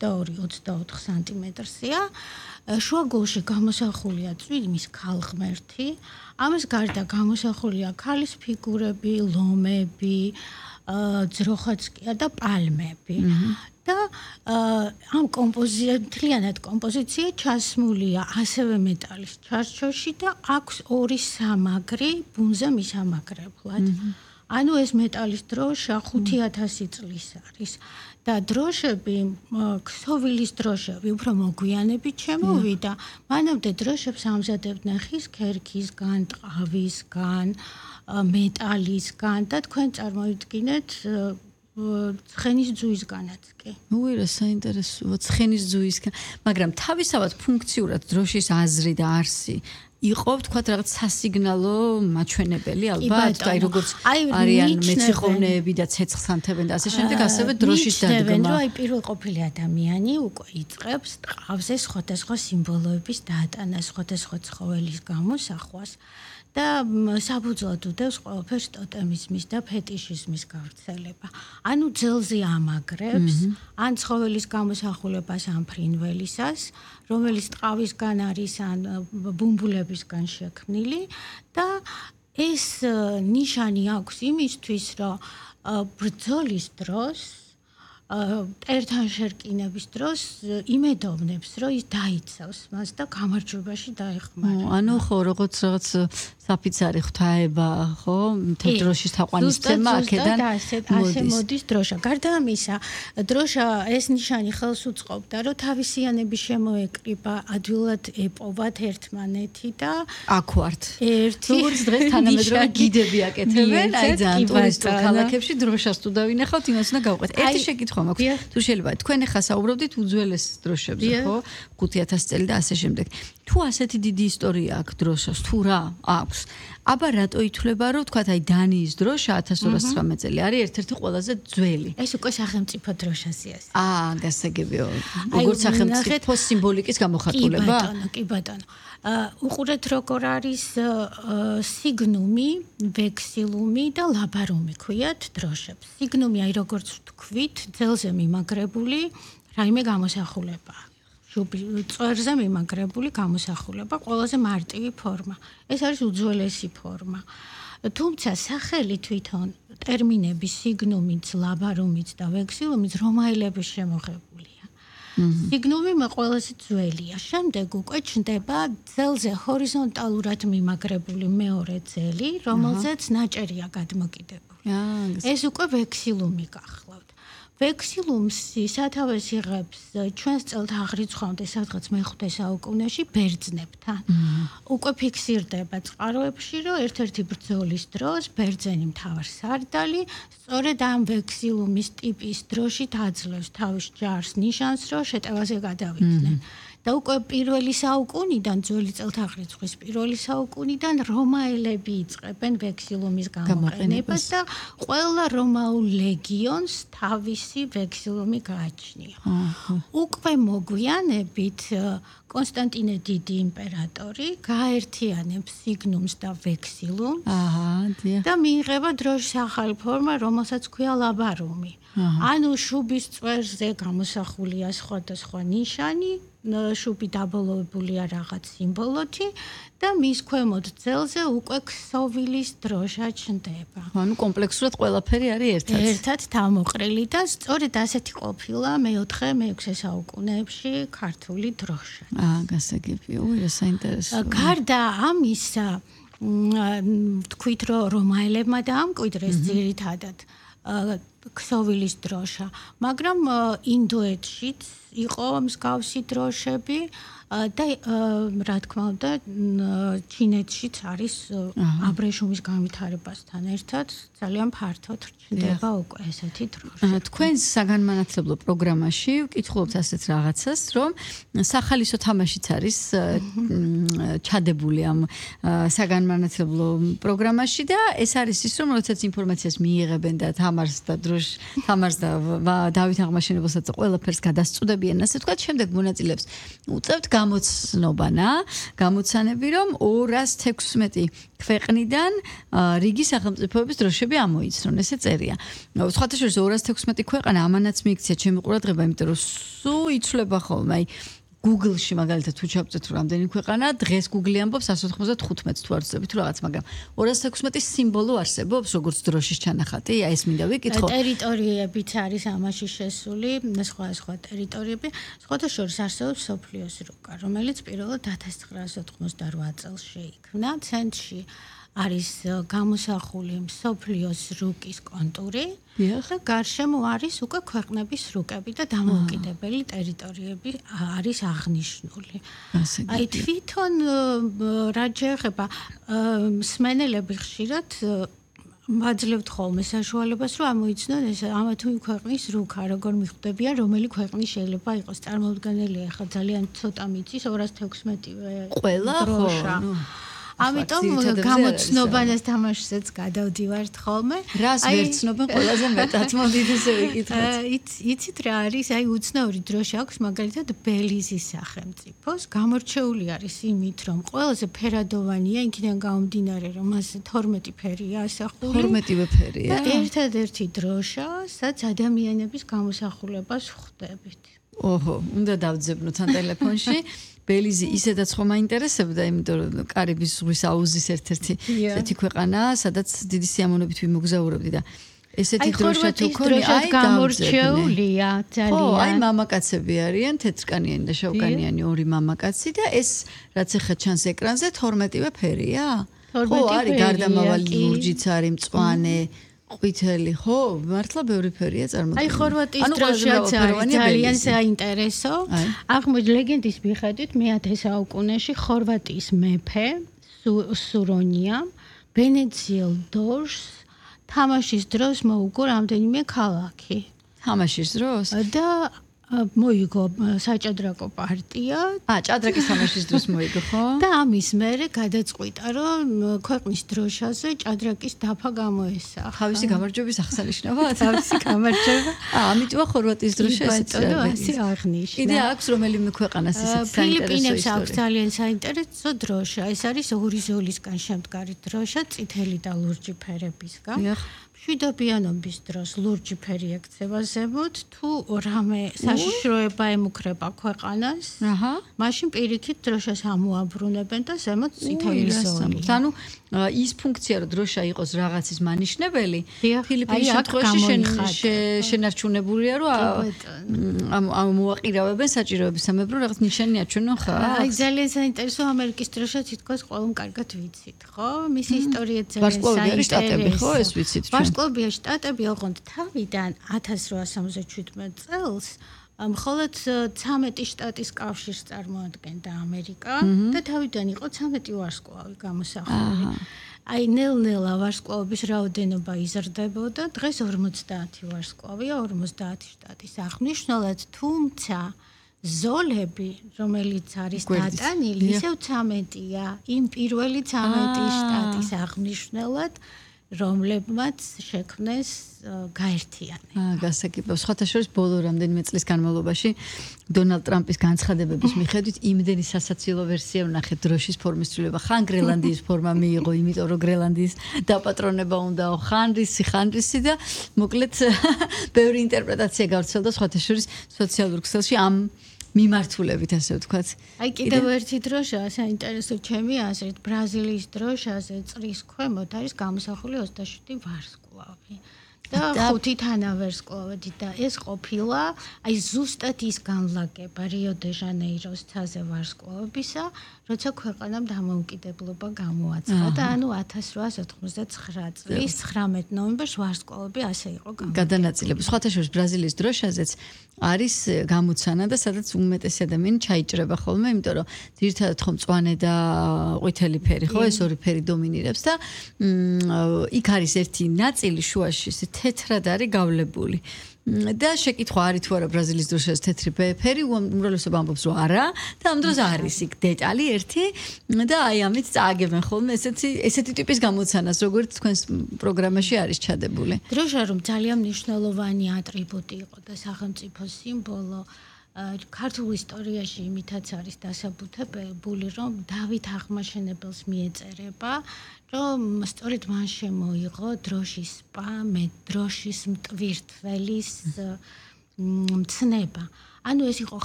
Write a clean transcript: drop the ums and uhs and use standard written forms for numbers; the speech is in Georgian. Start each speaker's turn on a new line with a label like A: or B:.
A: 22-24 სანტიმეტრზეა. შუაგულში გამოსახულია წვიმის ქალღმერთი. ამას გარდა გამოსახულია ქალის ფიგურები, ლომები, ძროხაცკია და პალმები. და ამ მთლიანად კომპოზიცია ჩასმულია ასევე მეტალის ჩარჩოში და აქვს 2 სამაგრი ბუნზე მისამაგრებლად. ანუ ეს მეტალის დროშა 5000 წლის არის და დროშები, ქსოვილის დროშები უფრო მოგვიანებით შემოვიდა. მანამდე დროშებს ამზადებდნენ ხის ქერქისგან, ტყავისგან, მეტალისგან და თქვენ წარმოიდგინეთ ცხენის ძუისგანაც კი.
B: უირა საინტერესოა ცხენის ძუისგან, მაგრამ თავისთავად ფუნქციურად დროშის აზრი და არსი იყო თქვათ რაღაც სასიგნალო მაჩვენებელი ალბათ, აი როგორც არიან მეციხოვნეები და ცეცხლს ანთებენ და ასე შემდეგ, ასევე დროშის დადგმა.
A: აი პირველ ყოფილი ადამიანი უკვე იწყებს ტყავზე სხვადასხვა სიმბოლოების დატანას, სხვადასხვა ცხოველის გამოსახვას. და საფუძვლად უდევს ყველაფერს ტოტემიზმის და ფეტიშიზმის გავრცელება. ანუ ძელზე ამაგრებს, ან ცხოველის გამოსახულებას ან ფრინველისას, რომელიც ტყავისგან არის ან ბუმბულებისგან შექმნილი და ეს ნიშანი აქვს იმისთვის, რომ ბრძოლის დროს ერთან შერკინების დროს იმედოვნებს, რომ ის დაიცავს მას და გამარჯვებაში დაეხმარება.
B: ანუ ხო, როგორც რაღაც საფიცარი ღვთაება, ხო? მთელ დროშის თაყვანისცემა აქედან
A: მოდის დროშა. გარდა ამისა, დროშა ეს ნიშანი ხელს უწყობდა, რომ თავისიანები შემოეკრიბა, ადვილად ეპოვათ ერთმანეთი და
B: აქ ვართ. როგორც დღეს თანამედროვე გიდები აკეთებენ, აი ძალიან ტურისტულ ქალაქებში დროშას თუ დავინახავთ, იმას უნდა გავყვეთ. ერთი შეკითხვა თუ შეიძლება თქვენ ახლა საუბრობდით უძველეს დროშებზე, ხო? 5000 წელი და ასე შემდეგ. თუ ასეთი დიდი ისტორია აქვს დროშას, თუ რა აქვს? აბა რატო ითვლება, რომ თქვათ აი დანიის დროშა 1219 წელი არის ერთ-ერთი ყველაზე ძველი?
A: ეს უკვე სახელმწიფო დროშაზეა.
B: გასაგებია. როგორც სახელმწიფო სიმბოლიკის გამოხატულება?
A: კი ბატონო. უყურეთ როგორ არის სიგნუმი, ვექსილუმი და ლაბარუმი ქვიათ დროშებს. სიგნუმი აი როგორც ვთქვით, ძელზე მიმაგრებული რაიმე გამოსახულება. წვერზე მიმაგრებული გამოსახულება, ყველაზე მარტივი ფორმა. ეს არის უძველესი ფორმა. თუმცა სახელი თვითონ ტერმინები სიგნუმიც, ლაბარუმიც და ვექსილუმიც რომაელების შემოღებულია. სიგნუმი ყველაზე ძველია. შემდეგ უკვე ჩნდება ძელზე ჰორიზონტალურად მიმაგრებული მეორე ძელი, რომელზეც ნაჭერია გადმოკიდებული. ეს უკვე ვექსილუმი გახლავთ. ვექსილუმსი სათავეს იღებს ჩვენს წელთაღრიცხვამდე სადღაც მე-5 საუკუნეში ბერძნებთან. უკვე ფიქსირდება წყაროებში, რომ ერთ-ერთი ბრძოლის დროს ბერძენი მთავარსარდალი სწორედ ამ ვექსილუმის ტიპის დროშით აძლევს თავის ჯარს ნიშანს, რომ შეტევაზე გადავიდნენ. და უკვე პირველი საუკუნიდან, ძველი წელთაღრიცხვის პირველი საუკუნიდან რომაელები იწყებენ ვექსილუმის გამოყენებას და ყველა რომაულ ლეგიონს თავისი ვექსილუმი გააჩნია. უკვე მოგვიანებით კონსტანტინე დიდი იმპერატორი გააერთიანებს სიგნუმს და ვექსილუმს და მიიღება დროშის ახალი ფორმა, რომელსაც ქვია ლაბარუმი. ანუ შუბის წვერზე გამოსახულია სხვადასხვა ნიშანი, შუბი დაბოლოებულია რაღაც სიმბოლოთი და მის ქვემოთ ძელზე უკვე ქსოვილის დროშა ჩნდება.
B: ანუ კომპლექსურად ყველაფერი არის ერთად.
A: ერთად თავმოყრილი და სწორედ ასეთი ყოფილა მე-4, მე-6 საუკუნეებში ქართული დროშა.
B: გასაგებია, უირა საინტერესოა.
A: გარდა ამისა, თქვით რომ რომაელებმა დაამკვიდრეს ძირითადად ქსოვილის დროშა, მაგრამ ინდოეთშიც იყო მსგავსი დროშები და რა თქმა უნდა ჩინეთშიც არის აბრეშუმის განვითარებასთან ერთად ძალიან ფართოდ ჩნდება უკვე ესეთი დროშა.
B: თქვენ საგანმანათლებლო პროგრამაში ვკითხულობთ ასეთ რაღაცას, რომ სახალისო თამაშიც არის ჩადებული ამ საგანმანათლებლო პროგრამაში და ეს არის ის, რომ როდესაც ინფორმაციას მიიღებენ და თამაშს და დროშ თამარს და დავით აღმაშენებელსაც ყველაფერს გადასწუდებიან, ასე ვთქვათ, შემდეგ მონაწილეებს უწევთ გამოცანები, რომ 216 ქვეყნიდან რიგი სახელმწიფოების დროშები ამოიცნონ, ესე წერია. სხვათა შორის 216 ქვეყანა ამანაც მიიქცია ჩემი ყურადღება, იმიტომ რომ სულ იცვლება ხოლმე, აი Google-ში მაგალითად თუ ჩავწეთ რამდენი ქვეყანა, დღეს Google-ი ამბობს 195 თუ არ ვწდებით თუ რაღაც, მაგრამ 216 სიმბოლო არსებობს, როგორც დროშის ჩანახატი, აი ეს მინდა ვიკითხო.
A: ტერიტორიებიც არის ამაში შესული, სხვა ტერიტორიები, სხვათა შორის არსებობს სოფლიოს რუკა, რომელიც პირველად 1988 წელს შეიქმნა, ცენტრში არის გამოსახული სოფლიოს რუკის კონტური და გარშემო არის უკვე ქვეყნების რუკები და დამოუკიდებელი ტერიტორიები არის აღნიშნული. აი თვითონ რაც შეეხება მსმენელები ხშირად მაძლევთ ხოლმე საშუალებას, რომ ამოიცნონ ეს ამა თუ იმ ქვეყნის რუკა, როგორ მიხვდებიან, რომელი ქვეყნის შეიძლება იყოს წარმოუდგენელი, ახლა ძალიან ცოტა მიწის 216
B: ყველა
A: დროშა. ამიტომ გამოცნობანას თამაშსაც გადავდივართ ხოლმე.
B: რას ვერცნობენ ყველაზე მეტად, მოდით ესე ვიკითხოთ.
A: იცით რა არის? აი უცნაური დროშა აქვს მაგალითად ბელიზის სახელმწიფოს. გამორჩეული არის იმით, რომ ყველაზე ფერადოვანია, იქიდან გამომდინარე, რომ მასზე 12 ფერია ასახული.
B: 12-ვე ფერია.
A: და ერთადერთი დროშა, სადაც ადამიანების გამოსახულებას ხვდებით.
B: ოჰო, უნდა დავძებნოთ თან ტელეფონში. ბელიზი ისედაც ხომ მაინტერესებდა, იმიტომ რომ კარიბის ზღვის აუზის ერთ-ერთი ესეთი ქვეყანაა, სადაც დიდი სიამოვნებით ვიმოგზაურებდი და ესეთი დროშა თუ ქონი, აი
A: გამორჩეულია ძალიან.
B: ხო, აი მამაკაცები არიან, თეთრკანიანი და შავკანიანი ორი მამაკაცი და ეს რაც ახლა ჩანს ეკრანზე 12-ვე ფერია? ხო, არის გარდამავალი ლურჯიც არის, მწვანე ყვითელი, ხო, მართლა ბევრი ფერია წარმოდგენილი.
A: აი ხორვატიის დროშაც არის ძალიან საინტერესო. ლეგენდის მიხედვით მე-10 საუკუნეში ხორვატიის მეფე სურონია ვენეციელ დორს თამაშის დროს მოუგო რამდენიმე ქალაქი.
B: თამაშის დროს?
A: და მოიგო საჭადრაკო პარტია.
B: ჭადრაკის თამაშის დროს მოიგო, ხო?
A: და ამის მერე გადაწყვიტა, რომ ქვეყნის დროშაზე ჭადრაკის დაფა გამოესახა.
B: თავისი გამარჯვების აღსანიშნავად?
A: თავისი გამარჯვება.
B: ამიტომ ხორვატიის დროშა
A: ასე აღნიშნა.
B: კიდე აქვს რომელიმე ქვეყანას ისეთი საინტერესო
A: ფილიპინებს აქვს ძალიან საინტერესო დროშა. ეს არის ორი ზოლისგან შემდგარი დროშა, წითელი და ლურჯი ფერებისგან. მშვიდობიანობის დროს ლურჯი ფერი ექცევა ზემოთ, თუ რამე საშიშროება ემუქრება ქვეყანას, მაშინ პირიქით დროშას ამოაბრუნებენ და ზემოთ წითელი ზოლი.
B: ანუ ის ფუნქცია, რომ დროშა იყოს რაღაცის მანიშნებელი, ფილიპინის შემთხვევაში შენარჩუნებულია, რომ მოაყირავებენ საჭიროებისამებრ რაღაც ნიშანი აჩვენონ ხარ.
A: აი ძალიან საინტერესო ამერიკის დროშა თითქოს ყველამ კარგად ვიცით, ხო? მისი ისტორია ძალიან საინტერესოა.
B: ხო, ეს ვიცით ჩვენ.
A: ვარსკვლავია შტატები ოღონდ თავიდან 1877 წელს მხოლოდ 13 შტატის კავშირს წარმოადგენდა ამერიკა და თავიდან იყო 13 ვარსკვლავი გამოსახული. აი ნელ-ნელა ვარსკვლავების რაოდენობა იზრდებოდა, დღეს 50 ვარსკვლავია 50 შტატის აღნიშნულად, თუმცა ზოლები, რომელიც არის დატანილი, ისევ 13-ია, იმ პირველი 13 შტატის აღნიშნულად რომლებმაც შექმნეს გაერთიანება.
B: გასაგებია. სხვათა შორის ბოლო რამდენიმე წლის განმავლობაში დონალდ ტრამპის განცხადებების მიხედვით იმდენი სასაცილო ვერსია ვნახეთ დროშის ფორმის ცვლილება. ხან გრენლანდიის ფორმა მიიღო, იმიტომ რომ გრენლანდიის დაპატრონება უნდაო, ხან რისი და მოკლედ ბევრი ინტერპრეტაცია გავრცელდა სხვათა შორის სოციალურ ქსელში ამ მიმართულებით, ასე ვთქვათ.
A: აი კიდევ ერთი დროშა საინტერესო ჩემი აზრით, ბრაზილიის დროშაზე წრის ქვემოთ არის გამოსახული 27 ვარსკვლავი. და 5 თანავარსკვლავედი და ეს ყოფილა აი ზუსტად ის განლაგება რიო-დე-ჟანეიროს ცაზე ვარსკვლავებისა, როცა ქვეყანამ დამოუკიდებლობა გამოაცხადა, ანუ 1889 წლის 19 ნოემბერს ვარსკვლავები ასე იყო
B: გადანაწილებული. სხვათა შორის ბრაზილიის დროშაზეც არის გამოცანა და სადაც უმეტესი ადამიანი ჩაიჭრება ხოლმე, იმიტომ რომ ძირითადად ხომ მწვანე და ყვითელი ფერი, ხო, ეს ორი ფერი დომინირებს და იქ არის ერთი ნაწილი შუაში, ეს თეთრად არის გავლებული. და შეკითხვა არის თუ არა ბრაზილიის დროშაზე თეთრი ფერი, უმრავლესობა ამბობს რომ არა და ამ დროს არის იქ დეტალი ერთი და აი ამით წააგებენ ხოლმე ესეთი ტიპის გამოცანას, როგორც თქვენს პროგრამაში არის ჩადებული.
A: დროშა რომ ძალიან მნიშვნელოვანი ატრიბუტი იყო და სახელმწიფოს სიმბოლო ქართულ ისტორიაში იმითაც არის დასაბუთებული, რომ დავით აღმაშენებელს მიეწერება, რომ სწორედ მან შემოიღო დროშის დროშის მტვირთველის მცნება. ანუ ეს იყო